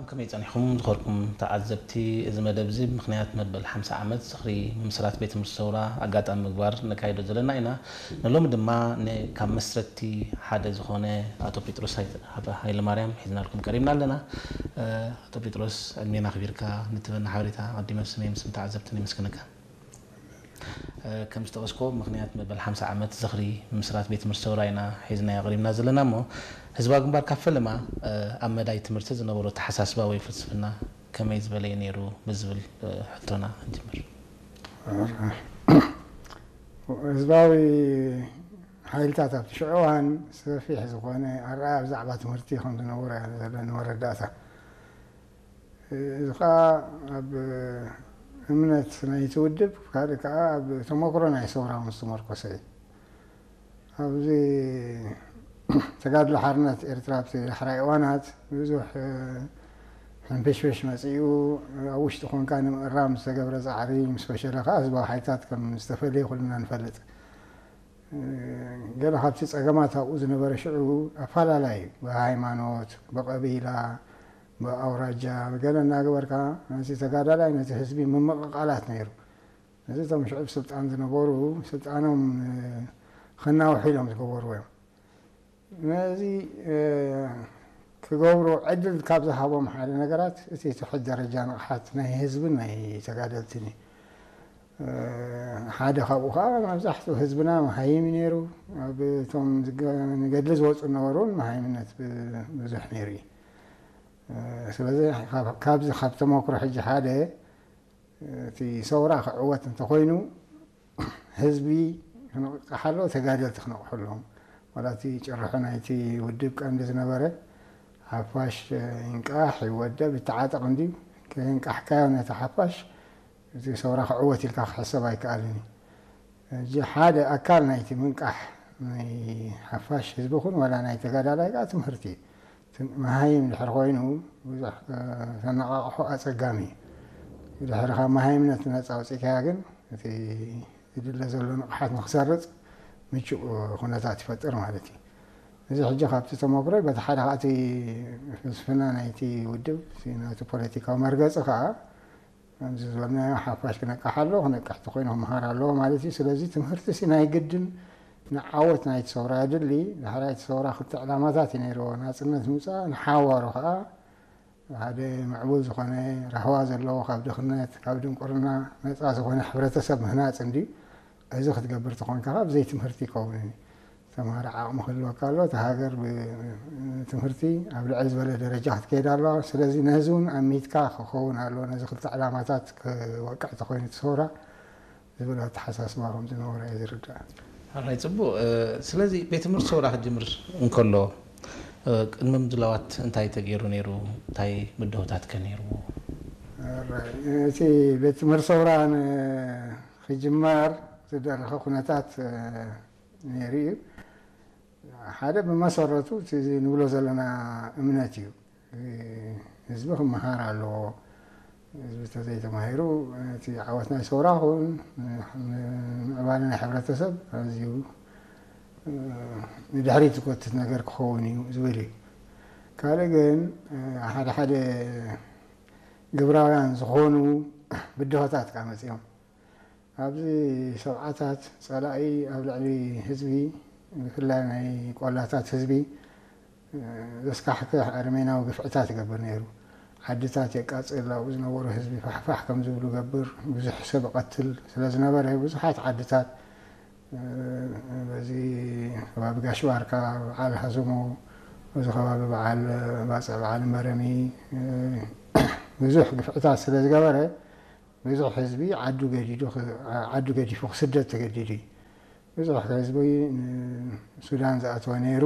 ከመይ ጸኒሕኩም ዝኸርኩም ተዓዘብቲ? እዚ መደብ እዚ ብምኽንያት መበል ሓምሳ ዓመት ዝኽሪ ምምስራት ቤት ትምህርቲ ሰውራ ኣጋጣሚ ምግባር ነካይዶ ዘለና ኢና። ንሎሚ ድማ ን-፣ ካብ መስረትቲ ሓደ ዝኾነ ኣቶ ጴጥሮስ ሃይ-፣ ሃይለማርያም ሒዝናልኩም ቀሪብና ኣለና። እ፣ ኣቶ ጴጥሮስ፣ ዕድሜና ኣኽቢርካ ንትበና ሓበሬታ ኣቐዲመ ብስመይ ምስ ተዓዘብትን የመስግነካ። እ፣ ከም ዝጠቐስኮ፣ ምኽንያት መበል ሓምሳ ዓመት ዝኽሪ ምምስራት ቤት ትምህርቲ ሰውራ ኢና ሒዝናዮ ቀሪብና ዘለና እሞ፣ ህዝባዊ ግንባር ካብ ፈለማ፣ እ፣ ኣብ መዳይ ትምህርቲ ዝነበሮ ኣተሓሳስባ ወይ ፍልስፍና ከመይ ዝበለ እዩ ነይሩ ብዝብል፣ እ፣ ሕቶና ንጅምር። ህዝባዊ ሓይልታት ኣብቲ ሽዑ እዋን ሰፊሕ ዝኾነ ኣረኣእያ ብዛዕባ ትምህርቲ ከም ዝነበሮ እያ ዘለኒ መረዳእታ። እዚ ኸኣ ኣብ እምነት ናይቲ ውድብ፣ ካልእ ከኣ ኣብ ተመክሮ ናይ ሰውራ ምስ ተመርኮሰ እዩ። ኣብዚ ተጋድሎ ሓርነት ኤርትራ ኣብቲ ዳሕራይ እዋናት ብዙሕ፣ እ፣ ሕንፍሽፍሽ መጺኡ፣ ኣብ ውሽጢ ኮንካ ንምእራም ዝተገብረ ጻዕሪ ምስ ፈሸለ ከኣ ህዝባዊ ሓይልታት ከም ዝተፈልየ ኩልና ንፈልጥ። እ፣ ገለ ካብቲ ጸገማት ኣብኡ ዝነበረ ሽዑ ኣፈላላይ እዩ። ብሃይማኖት፣ ብቐቢላ፣ ብኣውራጃ፣ ብገለ እናገበርካ ነቲ ተጋዳላይ ነቲ ህዝቢ ምምቕቓላት ነይሩ። ነዚ እቶም ሽዑ ብስልጣን ዝነበሩ ስልጣኖም፣ እ፣ ከናውሑ ኢሎም ዝገበርዎ እዮም። ነዚ፣ እ፣ ክገብሩ ዕድል ካብ ዝሃቦም ሓደ ነገራት እቲ ትሑት ደረጃ ንቕሓት ናይ ህዝብን ናይ ተጋደልትን እዩ። እ፣ ሓደ ካብኡ ኸዓ መብዛሕትኡ ህዝብና መሃይም እዩ ነይሩ። ኣብ እቶም ዝገ-፣ ንገድሊ ዝወፁ ዝነበሩ እውን መሃይምነት ብ-፣ ብዙሕ ነይሩ እዩ። እ፣ ስለዚ ካብ-፣ ካብዚ ካብ ተመክሮ ሕጂ ሓደ እቲ ሰውራ ክዕወት እንተኾይኑ ህዝቢ ክነቕቃሕ ኣለዎ፣ ተጋደልቲ ክነቕሑ ኣለዎም። ዋላ እቲ ጭርሖ ናይቲ ውድብ ቀንዲ ዝነበረ ሓፋሽ ይንቃሕ፣ ይወደብ፣ ይተዓጠቕ እንድዩ። ከይንቃሕካዮ ነቲ ሓፋሽ እቲ ሰውራ ክዕወት ኢልካ ክሕሰብ ኣይከኣልን እዩ። ሕጂ ሓደ ኣካል ናይቲ ምንቃሕ ናይ ሓፋሽ ህዝቢ ኹን ዋላ ናይ ተጋዳላይ ከኣ ትምህርቲ እዩ። እቲ መሃይም ድሕሪ ኮይኑ ብዙሕ፣ እ፣ ተነቓቕሖ ኣጸጋሚ እዩ። ድሕሪ ካብ መሃይምነት ነጻ ኣውጺእካያ ግን እቲ ዝድለ ዘሎ ንቕሓት ንክሰርጽ ምቹእ ኩነታት ይፈጥር ማለት እዩ። እዚ ሕጂ ካብቲ ተመክሮ በቲ ሓደ ከኣ እቲ ፍልስፍና ናይቲ ውድብ፣ እቲ ናቲ ፖለቲካዊ መርገጺ ከኣ ከምዚ ዝበልናዮ ሓፋሽ ክነቅሕ ኣለዎ፣ ክነቅሕ ተኮይኑ ክመሃር ኣለዎ ማለት እዩ። ስለዚ ትምህርቲ ሲ ናይ ግድን ንዓወት ናይቲ ሰውራ የድሊ። ድሕራይ እቲ ሰውራ ክልተ ዕላማታት እዩ ነይርዎ። ናጽነት ምውጻእ፣ ንሓዋሩ ከኣ ሓደ ምዕቡል ዝኾነ ራህዋ ዘለዎ ካብ ድኽነት፣ ካብ ድንቁርና ነጻ ዝኾነ ሕብረተሰብ ምህናጽ እንድዩ። እዚ ክትገብር ተኾንካ ከኣ ብዘይ ትምህርቲ ይከውንን እዩ። ተምሃሮ ዓቕሚ ክህልወካ ኣሎ። እታ ሃገር ብትምህርቲ ኣብ ልዕል ዝበለ ደረጃ ክትከይድ ኣለዋ። ስለዚ ነዚ እውን ኣሚትካ ክኸውን ኣለዎ። ነዚ ክልተ ዕላማታት ክወቅዕ ተኾይኑ እቲ ሰውራ ዝብል ኣተሓሳስባ ከም ዝነበሮ እየ ዝርዳእ። ሕራይ፣ ጽቡቕ። እ፣ ስለዚ ቤት ትምህርቲ ሰውራ ክጅምር እንከሎ፣ እ፣ ቅድሚ ምድላዋት እንታይ ተገይሩ ነይሩ? እንታይ ብድሆታት ከ ነይርዎ? ሕራይ፣ እቲ ቤት ትምህርቲ ሰውራ ንክጅመር ዝደረኸ ኩነታት፣ እ፣ ነይሩ እዩ። ሓደ ብመሰረቱ እቲ ንብሎ ዘለና እምነት እዩ። ህዝቢ ክመሃር ኣለዎ። ህዝቢ ተዘይተማሂሩ እቲ ዓወት ናይ ሰውራ ኹን ምዕባለ ናይ ሕብረተሰብ ኣዝዩ ንድሕሪት ዝጎትት ነገር ክኸውን እዩ ዝብል እዩ። ካልእ ግን ሓደ ሓደ ግብራውያን ዝኾኑ ብድሆታት ከኣ መጺኦም። ኣብዚ ሰብዓታት ጸላኢ ኣብ ልዕሊ ህዝቢ፣ ብፍላይ ናይ ቆላታት ህዝቢ፣ ዘስካሕክሕ ኣረሜናዊ ግፍዕታት ይገብር ነይሩ። ዓድታት የቃጽል፣ ኣብኡ ዝነበሩ ህዝቢ ፋሕፋሕ ከም ዝብሉ ገብር፣ ብዙሕ ሰብ ይቐትል ስለ ዝነበረ፣ ብዙሓት ዓድታት፣ በዚ ከባቢ ጋሽ ባርካ፣ በዓል ሃዘሞ፣ በዚ ከባቢ በዓል ባጽዕ፣ በዓል መረሚ፣ ብዙሕ ግፍዕታት ስለ ዝገበረ፣ ብዙሕ ህዝቢ ዓዱ ገዲዱ ኽ-፣ ዓዱ ገዲፉ ክስደድ ተገዲዱ እዩ። ብዙሕ ህዝቢ ንሱዳን ዝኣተወ ነይሩ፣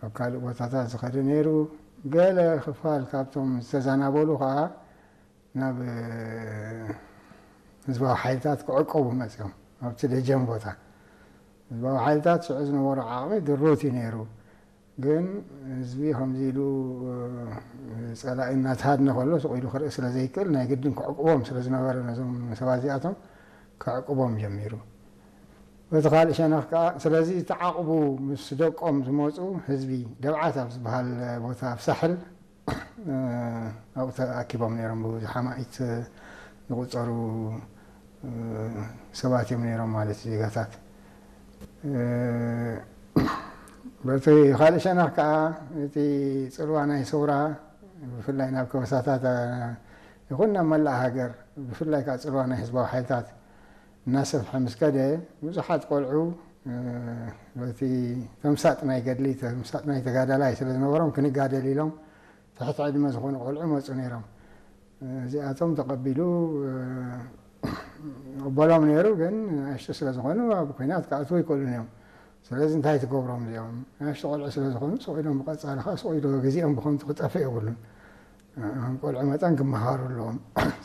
ኣብ ካልእ ቦታታት ዝኸደ ነይሩ። ገለ ክፋል ካብቶም ዝተዛናበሉ ኸኣ ናብ ህዝባዊ ሓይልታት ክዕቀቡ መጺኦም፣ ኣብቲ ደጀን ቦታ። ህዝባዊ ሓይልታት ሽዑ ዝነበሮ ዓቕሚ ድሩት እዩ ነይሩ። ግን ህዝቢ ከምዚ ኢሉ ጸላኢ እናተሃድነ ከሎ ስቕ ኢሉ ክርኢ ስለ ዘይክእል ናይ ግድን ክዕቅቦም ስለ ዝነበረ ነዞም ሰባት እዚኣቶም ክዕቅቦም ጀሚሩ። በቲ ካልእ ሸነኽ ከኣ ስለዚ ተዓቕቡ ምስ ደቆም ዝመጹ ህዝቢ ደብዓት ኣብ ዝበሃል ቦታ ኣብ ሳሕል ኣብኡ ተኣኪቦም ነይሮም። ብብዙሕ ኣማኢት ዝቑጸሩ ሰባት እዮም ነይሮም ማለት እዩ፣ ዜጋታት። በቲ ካልእ ሸነኽ ከዓ እቲ ጽልዋ ናይ ሰውራ ብፍላይ ናብ ከበሳታት ይኹን ናብ መላእ ሃገር፣ ብፍላይ ከዓ ጽልዋ ናይ ህዝባዊ ሓይልታት እናሰፍሐ ምስ ከደ፣ ብዙሓት ቆልዑ በቲ ተምሳጥ ናይ ገድሊ፣ ተምሳጥ ናይ ተጋዳላይ ስለ ዝነበሮም ክንጋደል ኢሎም ትሕቲ ዕድመ ዝኾኑ ቆልዑ መፁ ነይሮም። እዚኣቶም ተቐቢሉ ይቕበሎም ነይሩ፣ ግን ንኣሽቱ ስለ ዝኾኑ ኣብ ኲናት ክኣትዉ ኣይክእሉን እዮም። ስለዚ እንታይ ትገብሮም እዚኦም? ንኣሽቱ ቆልዑ ስለ ዝኾኑ ስቕ ኢሎም ብቐጻሊ ከዓ ስቕ ኢሎ ግዜኦም ብኸንቱ ክጠፍእ የብሉን። ከም ቆልዑ መጠን ክመሃሩ ኣለዎም።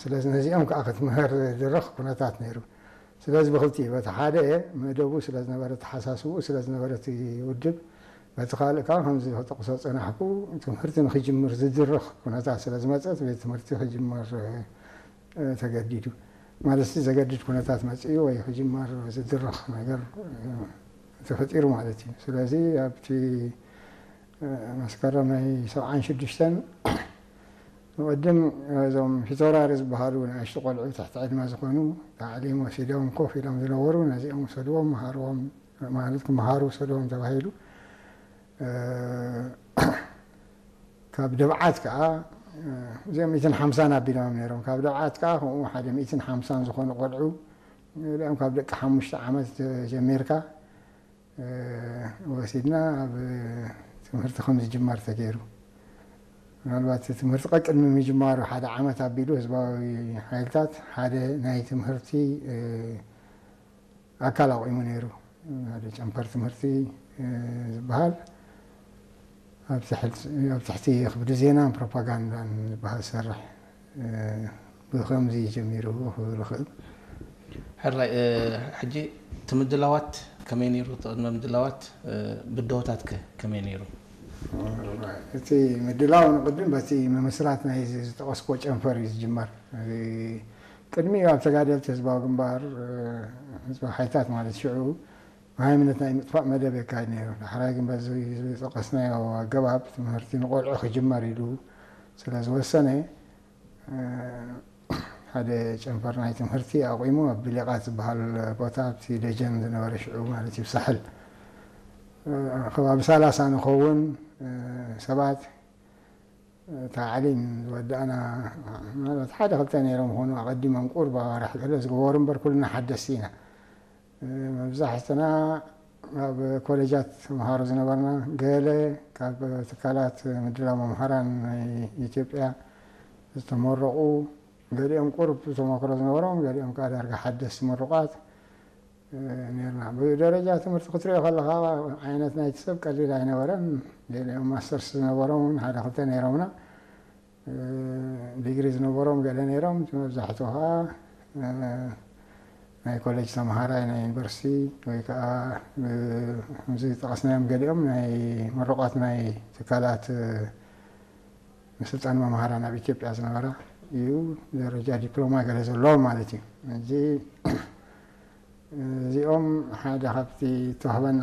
ስለዚ ነዚኦም ከዓ ክትምህር ዝድርኽ ኩነታት ነይሩ። ስለዚ ብኽልቲኡ፣ በቲ ሓደ መደቡ ስለ ዝነበረ፣ ተሓሳስብኡ ስለ ዝነበረ እቲ ውድብ፣ በቲ ካልእ ከዓ ከምዚ ክጠቕሶ ዝጸናሕኩ ትምህርቲ ንኽጅምር ዝድርኽ ኩነታት ስለ ዝመጸት ቤት ትምህርቲ ክጅመር ተገዲዱ። ማለት ዘገድድ ኩነታት መጺኡ ወይ ክጅመር ዝድርኽ ነገር ተፈጢሩ ማለት እዩ። ስለዚ ኣብቲ መስከረም ናይ ሰብዓን ሽዱሽተን ንቕድም እዞም ፊተውራሪ ዝበሃሉ ንኣሽቱ ቆልዑ ትሕቲ ዕድመ ዝኾኑ ታዕሊም ወሲዶም ኮፍ ኢሎም ዝነበሩ ነዚኦም ውሰድዎም፣ መሃርዎም፣ ማለት ክመሃሩ ውሰድዎም ተባሂሉ። ካብ ደብዓት ከዓ እዚኦም ሚእትን ሓምሳን ኣቢሎም ነይሮም። ካብ ደብዓት ከዓ ከምኡ ሓደ ሚእትን ሓምሳን ዝኾኑ ቆልዑ፣ ገሊኦም ካብ ደቂ ሓሙሽተ ዓመት ጀሚርካ ወሲድና ኣብ ትምህርቲ ከም ዝጅመር ተገይሩ። ምናልባት ትምህርቲ ቀቅድሚ ምጅማሩ ሓደ ዓመት ኣቢሉ ህዝባዊ ሓይልታት ሓደ ናይ ትምህርቲ ኣካል ኣቑሙ ነይሩ። ሓደ ጨንፈር ትምህርቲ ዝበሃል ኣብ ትሕቲ ክፍሊ ዜናን ፕሮፓጋንዳን ዝበሃል ዝሰርሕ ብኸምዚ ጀሚሩ ክብል ይኽእል። ሕራይ፣ ሕጂ እቲ ምድላዋት ከመይ ነይሩ? እቲ ቅድመ ምድላዋት ብደሆታት ከ ከመይ ነይሩ? እቲ ምድላው ንቕድም በቲ ምምስራት ናይ ዝጠቐስኮ ጨንፈር እዩ ዝጅመር። ቅድሚ ኣብ ተጋደልቲ ህዝባዊ ግንባር፣ ህዝባዊ ሓይልታት ማለት ሽዑ ሃይምነት ናይ ምጥፋእ መደብ የካይድ ነይሩ። ዳሕራይ ግን በዚ ዝጠቐስናዮ ኣገባብ ትምህርቲ ንቆልዑ ክጅመር ኢሉ ስለ ዝወሰነ፣ ሓደ ጨንፈር ናይ ትምህርቲ ኣቑሙ ኣብ ብሌቓት ዝበሃል ቦታ ኣብቲ ደጀን ዝነበረ ሽዑ ማለት እዩ ሳሕል ከባቢ ሰላሳ ንኸውን ሰባት ታዕሊም ዝወዳእና ማለት ሓደ ክልተ ነይሮም ኾኑ ኣቐዲሞም ቁርብ ኣዋርሕ ገለ ዝገበሩ እምበር ኩልና ሓደስቲ ኢና። መብዛሕትና ኣብ ኮሌጃት ተምሃሮ ዝነበርና ገለ ካብ ትካላት ምድላው መምሃራን ናይ ኢትዮጵያ ዝተመረቑ፣ ገሊኦም ቁርብ ተመክሮ ዝነበሮም፣ ገሊኦም ከዓ ዳርጋ ሓደስቲ ምሩቓት ነርና። ብደረጃ ትምህርቲ ክትሪኦ ከለኻ ዓይነት ናይቲ ሰብ ቀሊል ኣይነበረን። ገሊኦም ማስተርስ ዝነበሮም እውን ሓደ ክልተ ነይሮምና። ዲግሪ ዝነበሮም ገለ ነይሮም፣ እቲ መብዛሕትኡ ከዓ ናይ ኮሌጅ ተምሃራይ ናይ ዩኒቨርሲቲ ወይ ከዓ ከምዚ ዝጠቐስናዮም ገሊኦም ናይ ምሩቓት ናይ ትካላት ምስልጣን መምሃራን ኣብ ኢትዮጵያ ዝነበራ እዩ፣ ደረጃ ዲፕሎማ ገለ ዘለዎም ማለት እዩ። እዚ እዚኦም ሓደ ካብቲ ተዋህበና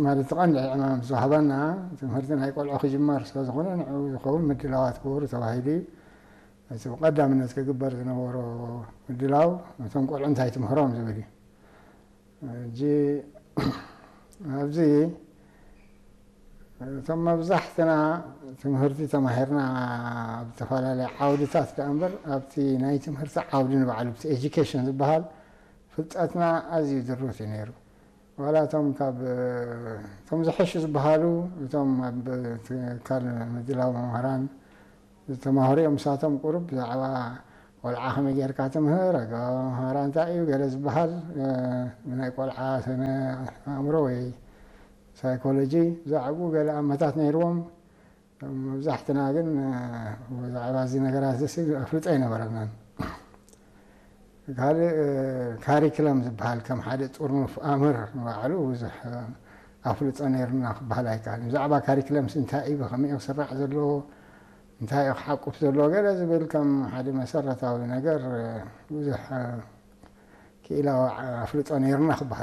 ማለት ቀንዲ ዕማም ዝተዋህበና ትምህርቲ ናይ ቆልዑ ክጅመር ስለ ዝኾነ ንዕኡ ዝኸውን ምድላዋት ክገብሩ ተባሂሉ እዩ። እቲ ብቀዳምነት ክግበር ዝነበሮ ምድላው ነቶም ቆልዑ እንታይ ትምህሮም ዝብል እዩ። ሕጂ ኣብዚ እቶም መብዛሕትና ትምህርቲ ተማሂርና ኣብ ዝተፈላለዩ ዓውድታት ደኣ እምበር ኣብቲ ናይ ትምህርቲ ዓውዲ ንባዕሉ እቲ ኤጁኬሽን ዝበሃል ፍልጠትና ኣዝዩ ድሩት እዩ ነይሩ። ዋላ እቶም ካብ እቶም ዝሐሹ ዝበሃሉ እቶም ኣብ ትካል ምድላው መምህራን ዝተማህሩ እዮም። ንሳቶም ቁሩብ ብዛዕባ ቆልዓ ከመይ ጌርካ ትምህር፣ ኣገባብ ኣምሃራ እንታይ እዩ ገለ ዝበሃል ናይ ቆልዓ ስነ ኣእምሮ ወይ ሳይኮሎጂ ብዛዕባኡ ገለ ኣመታት ነይርዎም። መብዛሕትና ግን ብዛዕባ እዚ ነገራት እዚ ኣፍልጦ ኣይነበረናን። ካልእ ካሪክለም ዝበሃል ከም ሓደ ጥርኑፍ ኣምር ንባዕሉ ብዙሕ ኣፍልጦ ነይርና ክበሃል ኣይከኣልን። ብዛዕባ ካሪክለምስ እንታይ እዩ፣ ብኸመይ እዩ ክስራዕ ዘለዎ፣ እንታይ እዩ ክሓቁፍ ዘለዎ ገለ ዝብል ከም ሓደ መሰረታዊ ነገር ብዙሕ ክኢላዊ ኣፍልጦ ነይርና ክበሃል